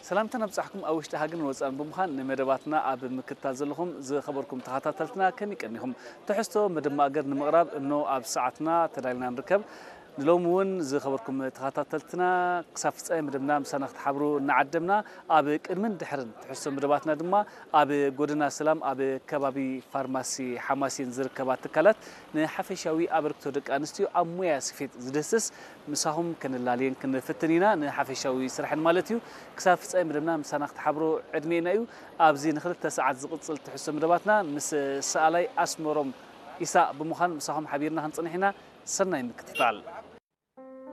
ሰላምታ ነብጻሕኩም ኣብ ውሽጢ ሃገርን ወጻእን ብምዃን ንመደባትና ኣብ ምክትታል ዘለኹም ዝኸበርኩም ተኸታተልትና ከመይ ቀኒኹም? ትሕዝቶ መደብ ማእገር ንምቕራብ እኖ ኣብ ሰዓትና ተዳሊና ንርከብ። ንሎሚ እውን ዝኸበርኩም ተኸታተልትና ክሳብ ፍጻሜ መደብና ምሳና ክትሓብሩ እናዓደምና ኣብ ቅድምን ድሕርን ትሕዝቶ መደባትና ድማ ኣብ ጎደና ሰላም ኣብ ከባቢ ፋርማሲ ሓማሴን ዝርከባ ትካላት ንሓፈሻዊ ኣበርክቶ ደቂ ኣንስትዮ ኣብ ሞያ ስፌት ዝድህስስ ምሳኹም ከነላልየን ክንፍትን ኢና። ንሓፈሻዊ ስራሕን ማለት እዩ። ክሳብ ፍጻሜ መደብና ምሳና ክትሓብሩ ዕድሜና እዩ። ኣብዚ ንክልተ ሰዓት ዝቕጽል ትሕዝቶ መደባትና ምስ ሰኣላይ ኣስመሮም ኢሳቕ ብምዃን ምሳኹም ሓቢርና ክንጽንሕ ኢና። ሰናይ ምክትታል።